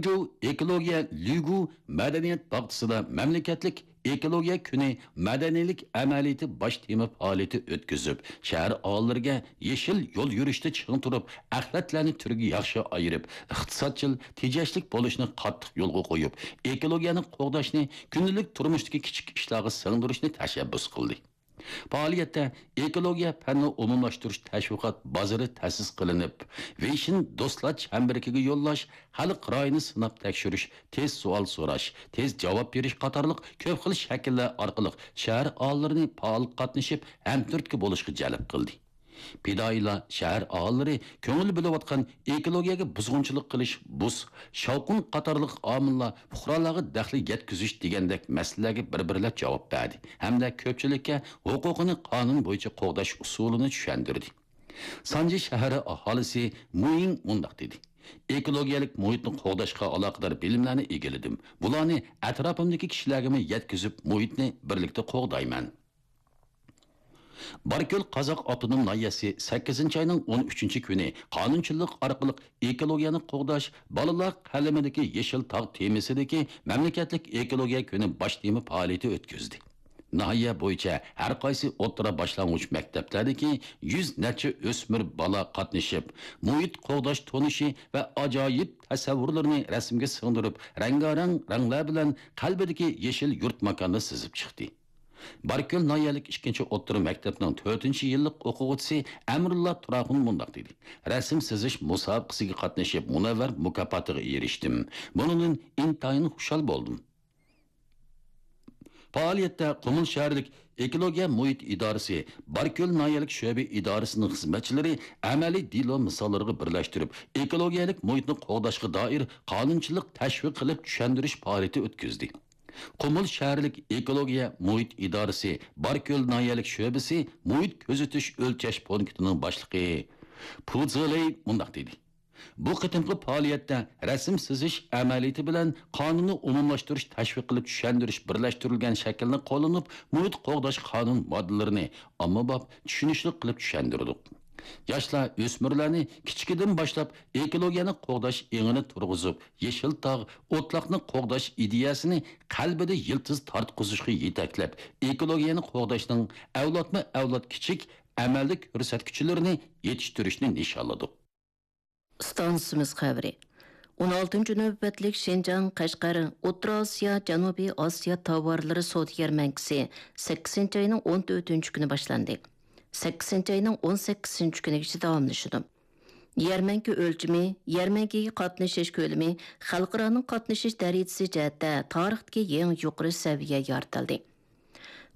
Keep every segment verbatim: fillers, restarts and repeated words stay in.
جۇ ئېكولوگىيە لۈگۇ مەدەنىيەت باغچىسىدا مەملىكەتلىك ئېكولوگىيە كۈنى مەدەنىيلىك ئەمەلىيىتى باش تېما پائالىيىتى ئۆتكۈزۈپ، شەھەر ئاھالىلىرىگە يېشىل يول يۈرۈشتە چىڭ تۇرۇپ، ئەخلەتلەرنى تۈرگە ياخشى ئايرىپ، ئىقتىسادچىل، تېجەشلىك بولۇشنى قاتتىق يولغا قويۇپ، ئېكولوگىيەنى قوغداشنى كۈندىلىك تۇرمۇشتىكى كىچىك ئىشلارغا سىڭدۈرۈشنى تەشەببۇس قىلدى. پائالىيەتتە ئېكولوگىيە پەننى ئومۇملاشتۇرۇش تەشۋىقات بازىرى تەسىس قىلىنىپ، ۋېيشىن دوستلار چەمبىرىكىگە يوللاش، خەلق رايىنى سىناپ تەكشۈرۈش، تېز سوئال سوراش، تېز جاۋاب بېرىش قاتارلىق كۆپ خىل شەكىللەر ئارقىلىق شەھەر ئاھالىلىرىنى پائال قاتنىشىپ، ھەمتۈرتكە بولۇشقا جەلپ قىلدى. پىدائىيلار شەھەر ئاھالىلىرى كۆڭۈل بۆلۈۋاتقان ئېكولوگىيەگە بۇزغۇنچىلىق قىلىش، بۇس، شاۋقۇن قاتارلىق ئامىللار پۇقرالارغا دەخلى يەتكۈزۈش دېگەندەك مەسىلىلەرگە بىر-بىرلەپ جاۋاب بەردى ھەمدە كۆپچىلىككە ھوقۇقىنى قانۇن بويىچە قوغداش ئۇسۇلىنى چۈشەندۈردى. سانجى شەھىرى ئاھالىسى مۇيىڭ مۇنداق دېدى: ئېكولوگىيەلىك مۇھىتنى قوغداشقا ئالاقىدار بىلىملەرنى ئىگىلىدىم. بۇلارنى ئەتراپىمدىكى كىشىلەرگىمۇ يەتكۈزۈپ، مۇھىتنى بىرلىكتە قوغدايمەن. باركۆل قازاق ئاپتونوم ناھىيەسى سەككىزىنچى ئاينىڭ ئون ئۈچىنچى كۈنى قانۇنچىلىق ئارقىلىق ئېكولوگىيەنى قوغداش، بالىلار قەلىمىدىكى يېشىل تاغ تېمىسىدىكى مەملىكەتلىك ئېكولوگىيە كۈنى باش تېما پائالىيىتى ئۆتكۈزدى. ناھىيە بويىچە ھەر قايسى ئوتتۇرا باشلانغۇچ مەكتەپلەردىكى يۈز نەچچە ئۆسمۈر بالا قاتنىشىپ، مۇھىت قوغداش تونۇشى ۋە ئاجايىپ تەسەۋۋۇرلىرىنى رەسىمگە سىڭدۈرۈپ، رەڭگارەڭ رەڭلەر بىلەن قەلبىدىكى يېشىل يۇرت ماكاننى سىزىپ چىقتى. باركۆل ناھىيەلىك ئىككىنچى ئوتتۇرا مەكتەپنىڭ تۆتىنچى يىللىق ئوقۇغۇچىسى ئەمرۇللا تۇراخۇن مۇنداق دېدى: رەسىم سىزىش مۇسابىقىسىگە قاتنىشىپ، مۇنەۋۋەر مۇكاپاتىغا ئېرىشتىم. بۇنىڭدىن ئىنتايىن خۇشال بولدۇم. پائالىيەتتە قۇمۇل شەھەرلىك ئېكولوگىيە مۇھىت ئىدارىسى، باركۆل ناھىيەلىك شۆبە ئىدارىسىنىڭ خىزمەتچىلىرى ئەمەلىي دېلو مىساللىرىغا بىرلەشتۈرۈپ، ئېكولوگىيەلىك مۇھىتنى قوغداشقا دائىر قانۇنچىلىق تەشۋىق قىلىپ چۈشەندۈرۈش پائالىيىتى ئۆتكۈزدى. قۇمۇل شەھەرلىك ئېكولوگىيە مۇھىت ئىدارىسى باركۆل ناھىيەلىك شۆبىسى مۇھىت كۆزىتىش ئۆلچەش پونكىتىنىڭ باشلىقى پۇ زېلېي مۇنداق دېدى: بۇ قېتىمقى پائالىيەتتە رەسىم سىزىش ئەمەلىيىتى بىلەن قانۇننى ئومۇملاشتۇرۇش، تەشۋىق قىلىپ چۈشەندۈرۈش بىرلەشتۈرۈلگەن شەكىلنى قوللىنىپ، مۇھىت قوغداش قانۇن ماددىلىرىنى ئاممىباب، چۈشىنىشلىك قىلىپ چۈشەندۈردۇق. ياشلار، ئۆسمۈرلەرنى كىچىكىدىن باشلاپ ئېكولوگىيەنى قوغداش ئېڭىنى تۇرغۇزۇپ، يېشىل تاغ، ئوتلاقنى قوغداش ئىدىيەسىنى قەلبىدە يىلتىز تارتقۇزۇشقا يېتەكلەپ، ئېكولوگىيەنى قوغداشنىڭ ئەۋلادمۇ ئەۋلاد كىچىك ئەمەلدىن كۆرسەتكۈچىلىرىنى يېتىشتۈرۈشنى نىشانلىدۇق. ئىستانسىمىز خەۋىرى. ئون ئالتىنچى نۆۋەتلىك شىنجاڭ قەشقەر ئوتتۇرا ئاسىيا، جەنۇبىي ئاسىيا تاۋارلىرى سودا يەرمەنكىسى سەككىزىنچى ئاينىڭ ئون تۆتىنچى كۈنى باشلاندى. سەككىزىنچى ئاينىڭ ئون سەككىزىنچى كۈنىگىچە داۋاملىشىدۇ. يەرمەنكە ئۆلچىمى، يەرمەنكىگە قاتنىشىش كۆلىمى، خەلقئارانىڭ قاتنىشىش دەرىجىسى جەھەتتە تارىختىكى يېڭى يۇقىرى سەۋىيە يارىتىلدى.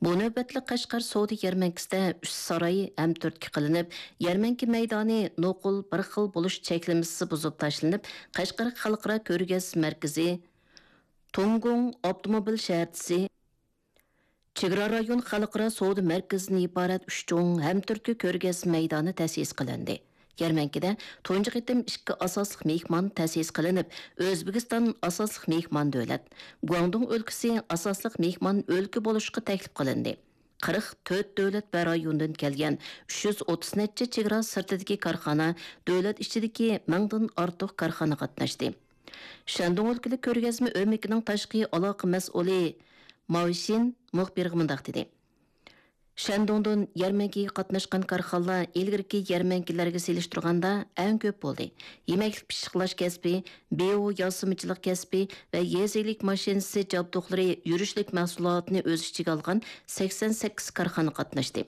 بۇ نۆۋەتلىك قەشقەر سودا يەرمەنكىسىدە ئۈچ ساراي ھەمتۈرتكە قىلىنىپ، يەرمەنكە مەيدانى نوقۇل بىر خىل بولۇش چەكلىمىسى بۇزۇپ تاشلىنىپ، قەشقەر خەلقئارا كۆرگەزمە مەركىزى، تۇڭگۇڭ ئاپتوموبىل شەھەرچىسى، چېگرا رايون خەلقئارا سودا مەركىزىدىن ئىبارەت ئۈچ چوڭ ھەمتۈرتكە كۆرگەزمە مەيدانى تەسىس قىلىندى. يەرمەنكىدە تۇنجى قېتىم ئىككى ئاساسلىق مېھمان تەسىس قىلىنىپ، ئۆزبېكىستان ئاساسلىق مېھمان دۆلەت، گۇاڭدۇڭ ئۆلكىسى ئاساسلىق مېھمان ئۆلكە بولۇشقا تەكلىپ قىلىندى. قىرىق تۆت دۆلەت ۋە رايوندىن كەلگەن ئۈچ يۈز ئوتتۇز نەچچە چېگرا سىرتىدىكى كارخانا، دۆلەت ئىچىدىكى مىڭدىن ئارتۇق كارخانا قاتناشتى. شەندۇڭ ئۆلكىلىك كۆرگەزمە ئۆمىكىنىڭ تاشقى ئالاقە مەسئۇلى ماۋشىن مۇخبىرغا مۇنداق دېدى: شەندۇڭدىن يەرمەنكىگە قاتناشقان كارخانىلار ئىلگىرىكى يەرمەنكىلەرگە سېلىشتۇرغاندا ئەڭ كۆپ بولدى. يېمەكلىك پىششىقلاش كەسپى، بىيو ياسىمىچىلىق كەسپى ۋە يېزا ئىگىلىك ماشىنىسى جابدۇقلىرى يۈرۈشلۈك مەھسۇلاتىنى ئۆز ئىچىگە ئالغان سەكسەن سەككىز كارخانا قاتناشتى.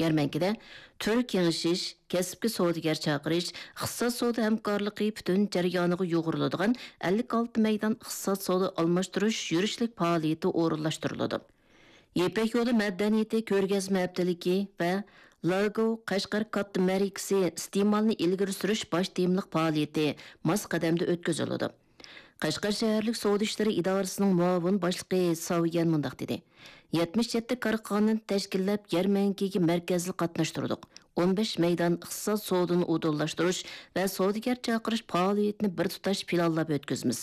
يەرمەنكىدە تۈر كېڭىشىش، كەسىپكە سودىگەر چاقىرىش، ئىقتىساد سودا ھەمكارلىقى پۈتۈن جەريانىغا يۇغۇرۇلىدىغان ئەللىك ئالتە مەيدان ئىقتىساد سودا ئالماشتۇرۇش يۈرۈشلۈك پائالىيىتى ئورۇنلاشتۇرۇلىدۇ. يىپەك يولى مەدەنىيىتى كۆرگەزمە ھەپتىلىكى ۋە لارگو قەشقەر كاتتا مەرىكىسى ئىستېمالنى ئىلگىرى سۈرۈش باش تېمىلىق پائالىيىتى ماس قەدەمدە ئۆتكۈزۈلىدۇ. قەشقەر شەھەرلىك سودا ئىشلىرى ئىدارىسىنىڭ مۇئاۋىن باشلىقى ساۋيەن مۇنداق دېدى: يەتمىش يەتتە كارخانىنى تەشكىللەپ، يەرمەنكىگە مەركەزلىك قاتناشتۇردۇق. ئون بەش مەيدان ئىقتىساد سودىنى ئۇدۇللاشتۇرۇش ۋە سودىگەر چاقىرىش پائالىيىتىنى بىر تۇتاش پىلانلاپ ئۆتكۈزىمىز.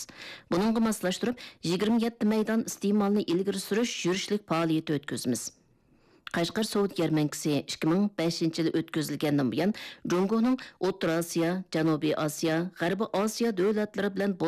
بۇنىڭغا ماسلاشتۇرۇپ، يىگىرمە يەتتە مەيدان ئىستېمالنى ئىلگىرى سۈرۈش يۈرۈشلۈك پائالىيىتى ئۆتكۈزىمىز. قەشقەر سودا يەرمەنكىسى ئىككى مىڭ بەشىنچى يىلى ئۆتكۈزۈلگەندىن بۇيان، جۇڭگونىڭ ئوتتۇرا ئاسىيا، جەنۇبىي ئاسىيا، غەربىي ئاسىيا دۆلەتلىرى بىلەن بولغان